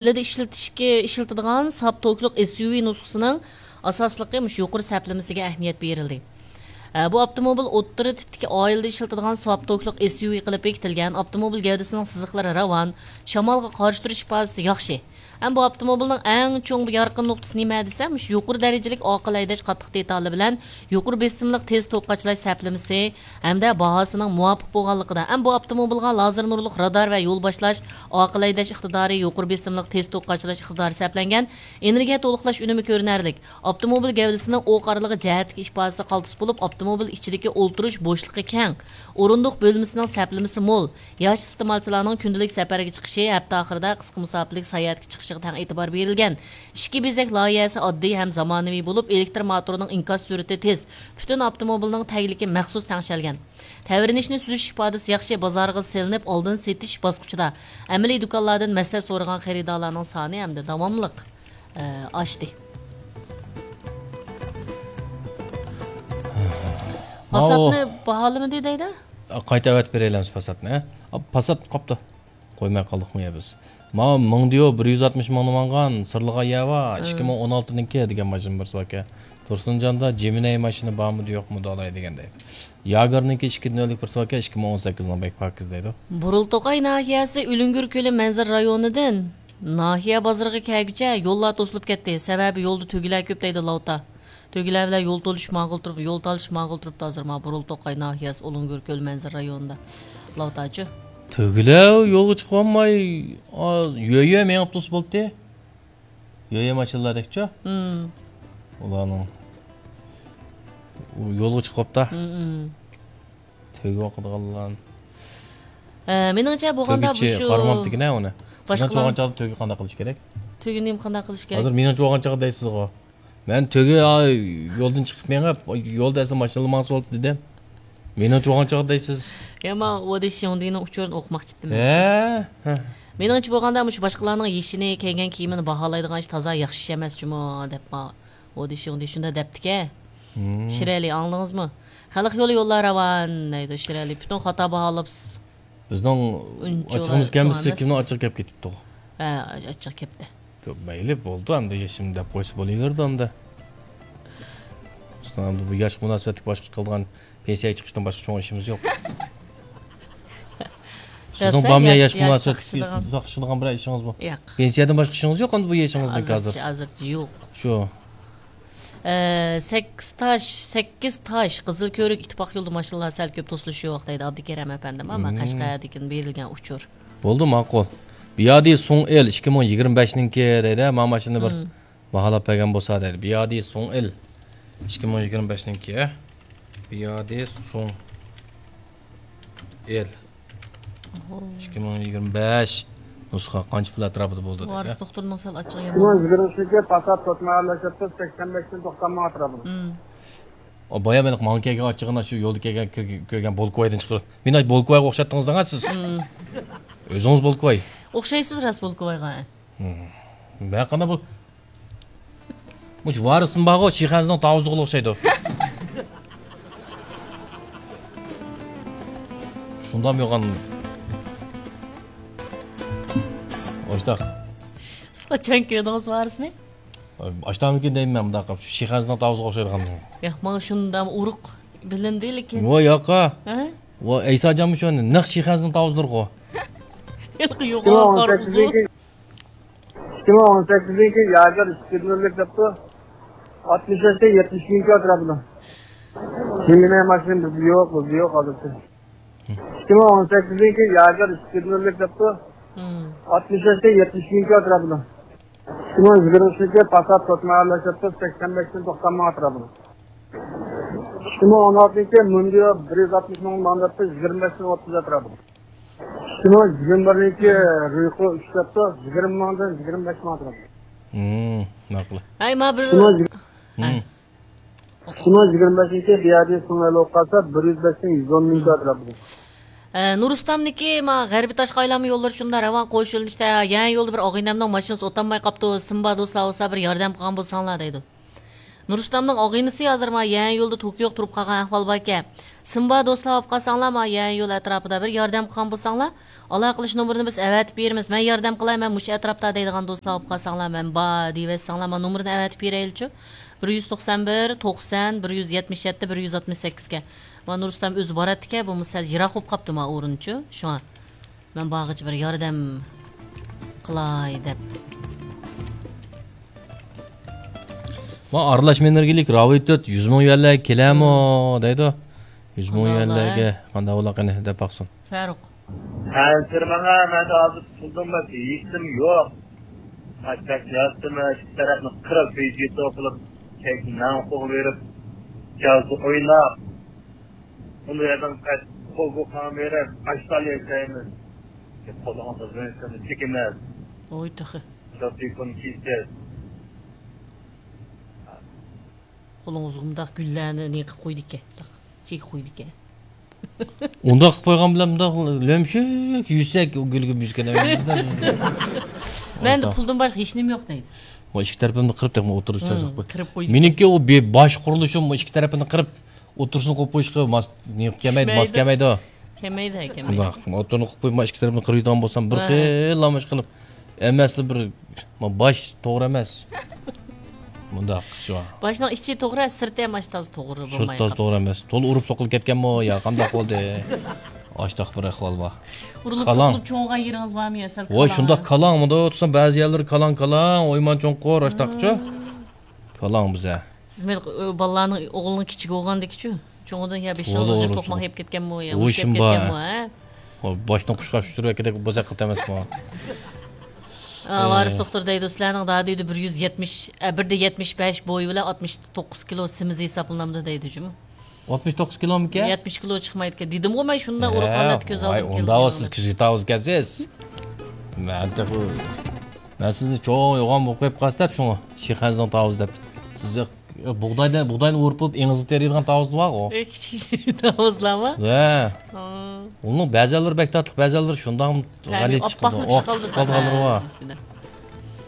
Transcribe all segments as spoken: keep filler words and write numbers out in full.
ئائىلىدە ئىشلىتىشكە، ئىشلىتىدىغان ساپ توكلۇق ئېس يۇ ۋى نۇسخىسىنىڭ ئاساسلىقى مۇشۇ يۇقىرى سەپلىمىسىگە ئەھمىيەت بېرىلدى. ئە، بۇ ئاپتوموبىل ئوتتۇرا تىپتىكى ئائىلىدە ئىشلىتىدىغان ساپ توكلۇق ئېس يۇ ۋى قىلىپ بېكىتىلگەن. ئاپتوموبىل گەۋدىسىنىڭ سىزىقلىرى راۋان، شامالغا قارشى تۇرۇش ئىپادىسى ياخشى. ھەم بۇ ئاپتوموبىلنىڭ ئەڭ چوڭ يارقىن نۇقتىسى نېمە دېسەم، مۇشۇ يۇقىرى دەرىجىلىك ئاقىل ھەيدەش قاتتىق دېتالى بىلەن يۇقىرى بېسىملىق تېز توك قاچىلاش سەپلىمىسى ھەمدە باھاسىنىڭ مۇۋاپىق بولغانلىقىدا، ھەم بۇ ئاپتوموبىلغا لازېر نۇرلۇق رادار ۋە يول باشلاش، ئاقىل ھەيدەش ئىقتىدارى، يۇقىرى بېسىملىق تېز توك قاچىلاش ئىقتىدارى سەپلەنگەن، ئېنېرگىيە تولۇقلاش ئۈنۈمى كۆرۈنەرلىك. ئاپتوموبىل گەۋدىسىنىڭ ئوق ئارىلىقى جەھەتتىكى ئىپادىسى قالتىس بولۇپ، ئاپتوموبىل ئىچىدىكى ئولتۇرۇش بوشلۇقى كەڭ، ئورۇندۇق بۆلمىسىنىڭ سەپلىمىسى مول، ياش ئىستېمالچىلارنىڭ كۈندىلىك سەپەرگە چىقىشى، ھەپتە ئاخىرىدا قىسقا مۇساپىلىك ساياھەتكە چىقىشىغا تەڭ ئېتىبار بېرىلگەن. ئىچكى بېزەك لايىھەسى ئاددىي ھەم زامانىۋى بولۇپ، ئېلېكتر موتورىنىڭ ئىنكاس سۈرئىتى تېز، پۈتۈن ئاپتوموبىلنىڭ تەگلىكى مەخسۇس تەڭشەلگەن. تەۋرىنىشنى سۈزۈش ئىپادىسى ياخشى، بازارغا سېلىنىپ، ئالدىن سېتىش باسقۇچىدا ئەمەلىي دۇكانلاردىن مەسلىھەت سورىغان خېرىدارلارنىڭ سانى ھەمدە داۋاملىق، ئە، ئاشتى. ماۋۇ پاساتنى باھالىمىدى دەيدۇ؟ قايتا ئەۋەتىپ بېرەيلەمسىز پاساتنى، ھە؟ پاسات قاپتۇ. قويماي قالدۇقمۇ يا بىز؟ ماۋۇ مىڭدىيو بىر يۈز ئاتمىش مىڭنى ماڭغان، سىرلىغان يەر بار، ھە. ئىككى مىڭ ئون ئالتىنىڭكى دېگەن ماشىنا بىرسى باركەن. تۇرسۇنجاندا جېمىنەي ماشىنا بارمىدى، يوقمىدى ئالاي دېگەن دەيدۇ. ياگارنىڭكى ئىككى نۆللۈك بىرسى باركەن، ئىككى مىڭ ئون سەككىزنىڭ بەك پاكىز دەيدۇ. بۇرۇلتوقاي ناھىيەسى ئۈلۈڭگۈر كۆلى مەنزىرە رايونىدىن. ناھىيە بازىرىغا كەلگۈچە يوللار توسۇلۇپ كەتتى، سەۋەبى يولدا تۆگىلەر كۆپ دەيدۇ لاۋتا. تۆگىلەر بىلەن يول تولۇشۇپ ماڭغىلى تۇرۇپ، يول تالىشىپ ماڭغىلى تۇرۇپتۇ ھازىر مانا بۇرۇلتوقاي ناھىيەسى ئۇلۇڭگۈر كۆل مەنزىرە رايونىدا. لاۋتاچۇ. تۆگىلەر يولغا چىقىۋالماي، ئا، يۆيە مېڭىپ تۇرسا بولدى. يۆيە ماشىنىلاردەكچۇ؟ ھىم. ئۇلارنىڭ يولغا چىقىۋاپتا. ھىم، ھىم. تۆگە ئوقۇيدىغانلار. ئە، مېنىڭچە بولغاندا تۆگىچى بۇ شۇ قارىمامتىكىنە ئۇنى. سىزنىڭ باشقىلار چوغان چاغدا تۆگە قانداق قىلىش كېرەك؟ تۆگە نېمە قانداق قىلىش كېرەك؟ ھازىر مېنىڭ چوغان چاغ دەيسىزغۇ. مەن تۆگە، ئا، يولدىن چىقىپ مېڭىپ، يولدا ئەسلى ماشىنىلا ماڭسا بولدى دېدىم. مېنىڭ چوغان چاغ دەيسىز. يا، ما ۋودى شيۇڭدىنىڭ ئۇچۇرىنى ئوقۇماقچى ئىدىم. ھە، ھە. مېنىڭچە بولغاندا مۇشۇ باشقىلارنىڭ يېشىنى، كىيگەن كىيىمىنى باھالايدىغان ئىش تازا ياخشى ئىش ئەمەس جۇمۇ دەپ ما ۋودى شيۇڭدى شۇنداق دەپتىكەن. ھىم. شىرئەلى، ئاڭلىدىڭىزمۇ؟ خەلق يولى يوللار راۋان دەيدۇ شىرئەلى. پۈتۈن خاتا باھالاپسىز. بىزنىڭ ئۇنچە ئاچچىقىمىز چوڭ كەلمىسە، ئەمەس كىمنىڭ بىز. ئاچچىقى كەپ كېتىپتۇ؟ ھە، ئاچچىق كەپتە. مەيلى، بولدى، ئەمدى يېشىم دەپ قويسا بولۇۋېرىدۇ ئەمدى. بىزنىڭ ئەمدى بۇ ياشقا مۇناسىۋەتلىك باشقا قىلىدىغان پېنسىيەگە چىقىشتىن باشقا چوڭ ئىشىمىز يوق. سىزنىڭ بارمۇ يا ياش، ياشقا مۇناسىۋەتلىك ئۇزاقلىشىدىغان بىرەر ئىشىڭىزمۇ؟ ياق. پېنسىيەدىن باشقا ئىشىڭىز يوق ئەمدى بۇ يېشىڭىزدىن ھازىرچە، ھازىرچە يوق. شۇ. ئە، سەككىز تاش، سەككىز تاش، قىزىل كۆۋرۈك ئىتتىپاق يولىدا ماشىنىلار سەل كۆپ توسۇلۇشى يوق دەيدۇ ئابدۇكېرەم ئەپەندىم. ئەمما مم. قەشقەردىكىن بېرىلگەن ئۇچۇر. بولدى، ماقۇل. بىيادى سۇڭ ئېل ئىككى مىڭ يىگىرمە بەشنىڭكى دەيدۇ، ما ماشىنىنى بىر مم. باھالاپ بەرگەن بولسا دەيدۇ. بىيادى سۇڭ ئېل ئىككى مىڭ يىگىرمە بەشنىڭكى. بىيادى سۇڭ ئېل. ئوھو. ئىككى مىڭ يىگىرمە بەش نۇسخا قانچە پۇل ئەتراپىدا بولدى دەيدۇ. ۋارىس دوختۇرنىڭ سەل ئاچچىقى يامان. ئىككى مىڭ يىگىرمە ئۈچىنچى پاسات تۆت ماياللاشتى، سەكسەن بەشتىن توقسان مىڭ ئەتراپىدا. مم. ئا، بايا مەن ماڭا كەلگەن ئاچچىقىنى شۇ يولدا كەلگەن، كۆرگەن، كۆرگەن بولكىۋايدىن چىقىرىپ. مېنى بولكىۋايغا ئوخشاتتىڭىز دەڭە سىز. مم. ئۆزىڭىز بولكىۋاي. ئوخشايسىز راست بولكىۋايغا. مم. مەن قانداق بول-، مۇشۇ ۋارىسىم بارغۇ، شىخەنزىنىڭ تاۋۇزلۇقىغا ئوخشايدۇ. شۇنداقمۇ يوغان؟ ئاشتاق. سىز قاچان كۆردىڭىز ۋارىسنى؟ ئاشتاقمىكىن دەيمەن مۇنداق قىلىپ، شۇ شىخەنزىنىڭ تاۋۇزىغا ئوخشايدىغان. ياق، ماڭا شۇنداق ئۇرۇق بىلىندى، لېكىن. ۋو ياقا. ھە؟ ۋو ئەيساجانمۇ شۇ نەق شىخەنزىنىڭ تاۋۇزلىرىغۇ. ھېلىقى يوغان قارا ئۇزۇن. ئىككى مىڭ ئون سەككىزىنچى ياگېر ئىككى نۆللۈك دەپتۇ. ئاتمىش بەشتىن يەتمىش مىڭ ئەتراپىدا. كىيىنە ماشىنا بىزدە يوق، بىزدە يوق ھازىرچە. ئىككى مىڭ ئون سەككىزىنچى ياگېر ئىككى نۆللۈك دەپتۇ. مم. ئاتمىش بەشتىن يەتمىش مىڭ ئەتراپىدا. ئىككى مىڭ يىگىرمە ئۈچىنچى پاسات تۆت ماياللاشتى، سەكسەن بەشتىن توقسان مىڭ ئەتراپىدا. ئىككى مىڭ ئون ئالتىنچى مۇندىيو بىر يۈز ئاتمىش مىڭ ماڭداپتۇ، يىگىرمە بەشتىن ئوتتۇز ئەتراپىدا. ئىككى مىڭ يىگىرمە بىرىنچى رىقو ئۈچ دەپتۇ، يىگىرمە مىڭدىن يىگىرمە بەش مىڭ ئەتراپىدا. مم، ماقۇل. ھەي، ما بىر. ئىككى مىڭ يىگىرمە بەشىنچى بىيادى سۇڭ ئېلىپ قالسا، بىر يۈز بەشتىن يۈز ئون مىڭ ئەتراپىدا. ئە، نۇرۇسلامنىكى ما غەربىي تاشقى ئايلانما يوللىرى شۇنداق راۋان قوش يۆنىلىشتە، يەنە يولدا بىر ئاغىنەمنىڭ ماشىنىسى ئوتالماي قاپتۇ، سىم بار دوستلار بولسا بىر ياردەم قىلغان بولساڭلار دەيدۇ. نۇرۇسلامنىڭ ئاغىنىسى ھازىر ما يەنە يولدا توكيوغا تۇرۇپ قالغان ئەھۋال باركەن. سىمبا دوستلار بولۇپ قالساڭلار، ما يەنە يول ئەتراپىدا بىر ياردەم قىلغان بولساڭلار، ئالاقىلىشىش نومۇرىنى بىز ئەۋەتىپ بېرىمىز. مەن ياردەم قىلاي، مەن مۇشۇ ئەتراپتا دەيدىغان دوستلار بولۇپ قالساڭلار، مەن بار دېيىۋەتسەڭلار، ما نومۇرىنى ئەۋەتىپ بېرەيلىچۇ. بىر يۈز توقسان بىر، توقسان، بىر يۈز يەتمىش يەتتە، بىر يۈز ئاتمىش سەككىزگە. ما نۇرۇسلام ئۆزى باراتتىكەن، بولمىسا سەل يىراق بولۇپ قاپتۇ ما ئورۇنچۇ. شۇڭا مەن بارغىچە بىر ياردەم قىلاي دەپ. ما ئارىلاشما ئېنېرگىيىلىك راۋىتوت يۈز مىڭ يۈەنلەرگە كېلەرمۇ دەيدۇ. يۈز مىڭ قانداق يۈەنلەرگە بولا؟ قانداق بولا قېنى دەپ باقسۇن. فاروق. ھەزىر ماڭا مەن ھازىر پۇلدىن باشقا ھېچنېمە يوق. قاچاق ياتتىمۇ ئىككى تەرەپنى قىرىپ ۋىدېو قىلىپ، كەينى مەن قوغۇۋېرىپ، جازا ئويناپ، ئۇنى يەردىن قايتىپ قوبۇققا بېرىپ، ئاشتان ياشايمىز. قولىڭىزغا زىنچىرنى چېكىمىز. ۋوي تېخى. شۇ تېلېفون كېسىز. قولىڭىزغا مۇنداق گۈللەرنى نېقىپ قويىدىكەن. چېكىپ قويىدىكەن. ئۇنداق قىلىپ قويغان بىلەن مۇنداق لۆمشۈك يۈسەك ئۇ گۈلگە مۈشكەن. مەندە پۇلدىن باشقا ھېچنېمە يوق دەيدۇ. ما ئىككى تەرىپىمنى قىرىپ تېخىمۇ ئوتتۇرىسىغا چىقىپ قوي. قىرىپ قويدى. مېنىڭكى ئۇ بى-، باش قۇرۇلۇشۇم ئىككى تەرىپىنى قىرىپ ئوتتۇرىسىنى قويۇپ قويۇشقا ماس، نېمە كەلمەيدۇ، ماس كەلمەيدۇ. كەلمەيدۇ، كەلمەيدۇ. مۇنداق، ئوتتۇرىنى قىلىپ قويۇپ، ما ئىككى تەرىپىنى قىرىۋېتىدىغان بولسام، بىر خىل لاماش قىلىپ، ئەمەسلا بىر، ما باش توغرا ئەمەس. مۇنداق، شۇ. باشنىڭ ئىچى توغرا، سىرتى ھەم ئاشتازا توغرا بولماي قاپتۇ. سىرتى توغرا ئەمەس. تولا ئۇرۇپ سوقۇلۇپ كەتكەنمۇ يا قانداق بولدى؟ ئاشتاق بىر ئەھۋال بار. ئۇرۇلۇپ سوقۇلۇپ چوڭىغان يېرىڭىز بارمۇ يا سەل؟ ۋاي، شۇنداق كالاڭ، مۇنداق تۇرسام بەزى يەرلىرى كالاڭ، كالاڭ، ئويمان چوڭقۇر، ئاشتاقچۇ. كالاڭ بىزە. سىز مەيلى، ئۆ، بالىلارنىڭ، ئوغلىنىڭ كىچىكى بولغاندىكىچۇ؟ چوڭىدىن يا بېشىڭىزغا جىق توقماق يەپ كەتكەنمۇ يا مۇشۇ يەپ كەتكەنمۇ، ھە؟ باشنى قۇشقا ئۇچۇرۇۋەتكۈدەك بوزەك قىلىپ ئەمەسمۇ؟ ئا، ۋارىس دوختۇر دەيدۇ، سىلەرنىڭ دادىدە بىر يۈز يەتمىش، ئە، بىر دە يەتمىش بەش بويى بىلەن ئاتمىش توققۇز كىلو سېمىز ھېسابلىنامدۇ دەيدۇ جۇمۇ. ئاتمىش توققۇز كىلومىكەن؟ يەتمىش كىلو چىقمايدىكەن. دېدىمغۇ مەن شۇنداق ئۇرۇق ھالەتتە كۆز ئالدىمغا كەلگەن. ئۇنداق سىز كىشى تاۋۇز ئىكەنسىز. مەن تېخى مەن سىزنى چوڭ يوغان بولۇپ قېلىپ قالسا دەپ شۇڭا، شىخەنزىنىڭ تاۋۇزى دەپ. سىز بۇغداينى، بۇغداينى ئورۇپ بولۇپ ئېڭىزغا تېرىيدىغان تاۋۇزلار بارغۇ. ئۆي كىچىك تاۋۇزلارمۇ؟ ھە. ئۇنىڭ بەزەنلىرى بەك تاتلىق، بەزەنلىرى شۇنداق غەلىتە چىقىدۇ. ئوق چىقىپ قالىدىغانلىرى بار.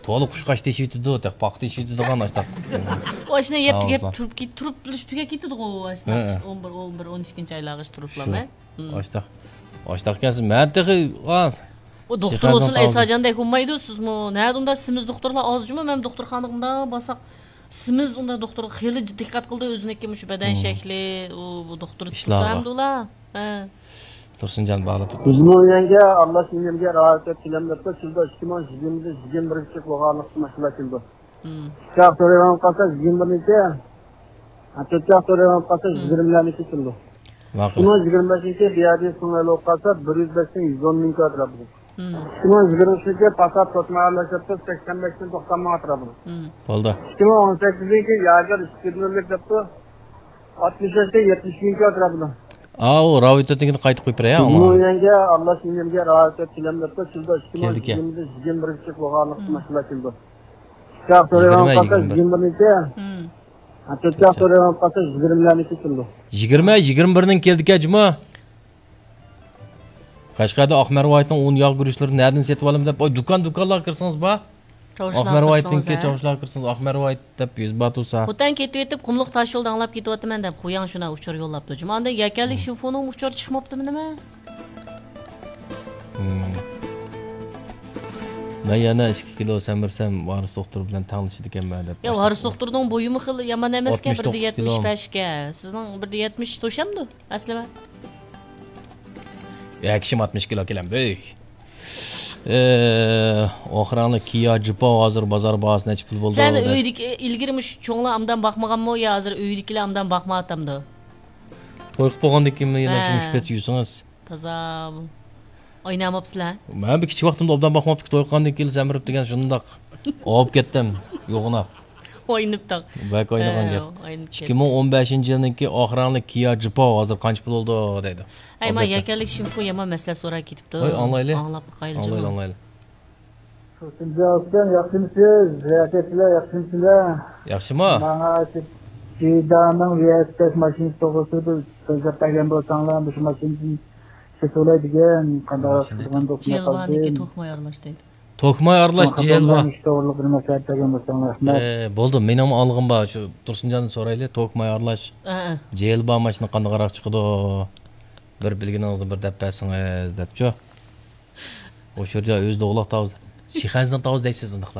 تولا قۇشقاچ تېشىۋېتىدۇ، تېخى پاختا تېشىۋېتىدىغان ئاشتاق. ئۇ ئاشۇنداق يەپ تۈگەپ تۇرۇپ كېت-، تۇرۇپ تۇرۇپ تۈگەپ كېتىدىغۇ ئاشۇنداق. ئون بىر، ئون بىر، ئون ئىككىنچى ئايلارغىچە تۇرۇپلا. ئاشتاق. ئاشتاق ئىكەنسىز. مەن تېخى، ئۇ دوختۇر بولسىلا ئېساجان دەك بولمايدۇ، سىزمۇ. نەدە ئۇنداق سېمىز دوختۇرلار ئاز جۇمۇ، مەن دوختۇرخانىغا مۇنداق بارساق، سېمىز ئۇنداق دوختۇرغا خېلى دىققەت قىلىدۇ، ئۆزىنىڭكى مۇشۇ بەدەن شەكلى، ئۇ، بۇ دوختۇر تۇتسا ئەمدى ئۇلار. ھە. تۇرسۇنجان باغلاپ. يۈز مىڭ يۈەنگە ئارىلاش ئىنىمگە راۋايەت كېلەم دەپتۇ، كېلىدۇ، ئىككى مىڭ يىگىرمىدە يىگىرمە بىرگىچە بولغانلىقتا ماشىنىلار كېلىدۇ. ئىككى ھەپتە سورايدىغان قالسا، يىگىرمە بىرنىڭكى، ھە، تۆت ھەپتە سورايدىغان قالسا، يىگىرمىلەرنىڭكى كېلىدۇ. ماقۇل. ئىككى مىڭ يىگىرمە بەشنىڭكى بىئايدىس سۇڭ ئېلىپ قالسا، بىر يۈز بەشتىن يۈز ئون مىڭ كىلو ئەتراپىدا. ئىككى مىڭ يىگىرمە ئۈچىنچى پاسات توسما ئارىلاشتۇرۇپتۇ، سەكسەن بەشتىن توقسان مىڭ ئەتراپىدا. بولدى. ئىككى مىڭ ئون سەككىزىنچى ياگېر ئىككى يۈز ئۆرلۈك دەپتۇ، ئاتمىش بەشتىن يەتمىش مىڭ كىلو ئەتراپىدا. ئاۋۇ راۋىتەتنىڭكىنى قايتا قويۇپ بېرەي، ھە، ئۇنىڭ. يۈەنگە ئارىلاش ئىنىمگە راۋىتەت كېلەم دەپتۇ، كېلىدۇ، ئىككى مىڭ يىگىرمىدە يىگىرمە بىرگىچە بولغانلىقتا ماشىنىلار كېلىدۇ. ئىككى ھەپتە سورايدىغان قالسا، يىگىرمە بىرنىڭكى، ھە، تۆت ھەپتە سورايدىغان قالسا، يىگىرمىلەرنىڭكى كېلىدۇ. يىگىرمە، يىگىرمە بىرنىڭ كېلىدىكەن جۇمۇ. قەشقەردە ئاق مەرۋايىتنىڭ ئۇن ياغ گۈرۈچلىرىنى نەدىن سېتىۋالىمەن دەپ، ئاي، دۇكان، دۇكانلارغا كىرسىڭىز بار. ئاق مەرۋايىتنىڭكى، چاۋشىلارغا كىرسىڭىز، ئاق مەرۋايىت دەپ يېزىپ باتۇرسا. خوتەن كېتىۋېتىپ، قۇملۇق تاش يولدا ئاڭلاپ كېتىۋاتىمەن دەپ، خۇياڭ شۇنا ئۇچۇر يوللاپتۇ. جۇمۇ ئاندىن يەكەنلىك شىنفۇنىڭ ئۇچۇرى چىقماپتىمۇ نېمە؟ مەن يەنە ئىككى كىلو سەمرىسەم، ۋارىس دوختۇر بىلەن تەڭلىشىدىكەنمەن دەپ. يا، ۋارىس دوختۇرنىڭ بويىمۇ خېلى يامان ئەمەسكەن، بىر دە يەتمىش بەشكەن. سىزنىڭ بىر دە يەتمىش توشامدۇ ئەسلىمە؟ يا، كىشىم ئاتمىش كىلو كېلەمدۇ. ئاخىرىڭلار كىيا جىپاۋ ھازىر بازار باھاسى نەچچە پۇل بولدى؟ سىلەرنىڭ ئۆيدىكى ئىلگىرى مۇشۇ چوڭلار ئامدان باقمىغانمۇ يا ھازىر ئۆيدىكىلەر ئامدان باقمايۋاتامدۇ؟ توي قىلىپ بولغاندىن كېيىن يەنە شۇ مۇشۇ پېتى يۈرسىڭىز. تازا ئويناماپسىلەر؟ مەن بىر كىچىك ۋاقتىمدا ئوبدان باقماپتىكەن، توي قىلغاندىن كېيىن سەمرىپ دېگەن شۇنداق ئاۋۇپ كەتتىم يوغىناپ. ئوينىپتىڭ. بەك ئوينىغان گەپ. ئىككى مىڭ ئون بەشىنچى يىلنىڭكى ئاخىرىڭلىق كىيا جىپاۋ ھازىر قانچە پۇل بولدى دەيدۇ. ھەي، ما يەكەنلىك شىنفۇ يامان مەسىلە سوراپ كېتىپتۇ. ھەي، ئاڭلايلى. ئاڭلاپ باقايلى. ئاڭلايلى، ئاڭلايلى. تۇرسۇنجان ئۇكام، ياخشىمۇسىز؟ رەھمەتلەر، ياخشىمۇسىلەر؟ ياخشىما؟ ماڭا شۇ جىدانىڭ ۋىئەتتەك ماشىنىسى توغرىسىدا بىر سۆزلەپ بەرگەن بولساڭلار، مۇشۇ ماشىنىدىن سېتىۋالاي دېگەن، قانداق قىلغان دوستۇم قالدى. توكماي ئارىلاشتى. توكماي ئارىلاش جېيىل بار. توغرىلىق بىر مەسلىھەت بەرگەن بولساڭلار رەھمەت. ئە، بولدى، مېنىڭمۇ ئالغۇم بار. شۇ تۇرسۇنجاندىن سورايلى، توكماي ئارىلاش ئە، ئە. جېيىل بار ماشىنا قانداقراق چىقىدۇ؟ بىر بىلگىنىڭىزنى بىر دەپ بەرسىڭىز دەپچۇ. ئوشۇرجا ئۆزىدە ئوغلاق تاۋۇز. شىخەنزىنىڭ تاۋۇز دەيسىز ئۇنداقلارنى.